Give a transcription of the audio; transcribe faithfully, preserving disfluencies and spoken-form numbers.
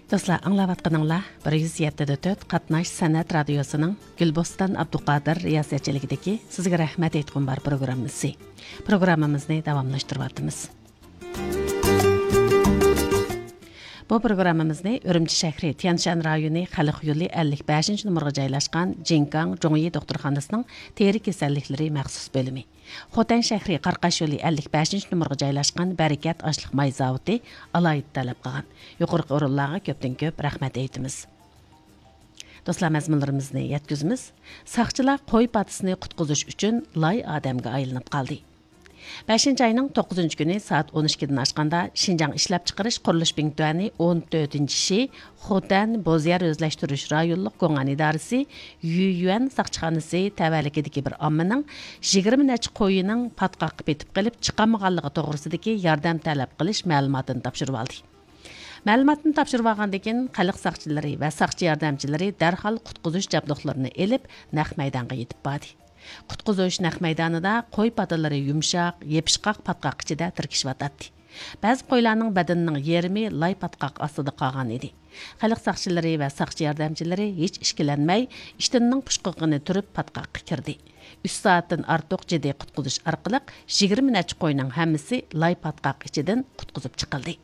دوستلار، ئاڭلاۋاتقىنىڭلار بىر يۈز يەتتە دە تۆت قاتناش سەنئەت رادىيوسىنىڭ گۈلبوستان ئابدۇقادىر رىياسەتچىلىكىدىكى سىزگە رەھمەت ئېيتقۇم بار پروگراممىسى. پروگراممىمىزنى داۋاملاشتۇرۇۋاتىمىز. بۇ پروگراممىمىزنى ئۈرۈمچى شەھىرى تيەنشان رايونى خەلق يولى ئەللىك بەشىنچى نومۇرغا جايلاشقان جىنكاڭ جۇڭيى دوختۇرخانىسىنىڭ تېرە كېسەللىكلىرى مەخسۇس بۆلۈمى، خوتەن شەھىرى قاراقاش يولى ئەللىك بەشىنچى نومۇرغا جايلاشقان بەرىكەت ئاشلىق ماي زاۋۇتى ئالاھىدە تەلەپ قىلغان. يۇقىرىقى ئورۇنلارغا كۆپتىن كۆپ رەھمەت ئېيتىمىز. دوستلار، مەزمۇنلىرىمىزنى يەتكۈزىمىز. ساقچىلار قوي پاتىسىنى قۇتقۇزۇش ئۈچۈن لاي ئادەمگە ئايلىنىپ قالدى. بەشىنچى ئاينىڭ توققۇزىنچى كۈنى سائەت ئون ئىككىدىن ئاشقاندا، شىنجاڭ ئىشلەپچىقىرىش قۇرۇلۇش بىڭتۈەنى ئون تۆتىنچى شى خوتەن بوز يەر ئۆزلەشتۈرۈش رايونلۇق گوڭئەن ئىدارىسى يۈيۈەن ساقچىخانىسى تەۋەلىكىدىكى بىر ئاممىنىڭ يىگىرمە نەچچە قويىنىڭ پاتقاققا پېتىپ قېلىپ چىقالمىغانلىقى توغرىسىدىكى ياردەم تەلەپ قىلىش مەلۇماتىنى تاپشۇرۇۋالدى. مەلۇماتنى تاپشۇرۇۋالغاندىن كېيىن، خەلق ساقچىلىرى ۋە ساقچى ياردەمچىلىرى دەرھال قۇتقۇزۇش جابدۇقلىرىنى ئېلىپ، نەق مەيدانغا يېتىپ باردى. قۇتقۇزۇش نەق مەيدانىدا قوي پاتىلىرى يۇمشاق، يېپىشقاق پاتقاق ئىچىدە تىركىشىۋاتاتتى. بەزى قويلارنىڭ بەدىنىنىڭ يېرىمى لاي پاتقاق ئاستىدا قالغان ئىدى. خەلق ساقچىلىرى ۋە ساقچى ياردەمچىلىرى ھېچ ئىككىلەنمەي، ئىشتىنىنىڭ پۇشقىغىنى تۈرۈپ پاتقاققا كىردى. ئۈچ سائەتتىن ئارتۇق جىددىي قۇتقۇزۇش ئارقىلىق يىگىرمە نەچچە قوينىڭ ھەممىسى لاي پاتقاق ئىچىدىن قۇتقۇزۇپ چىقىلدى.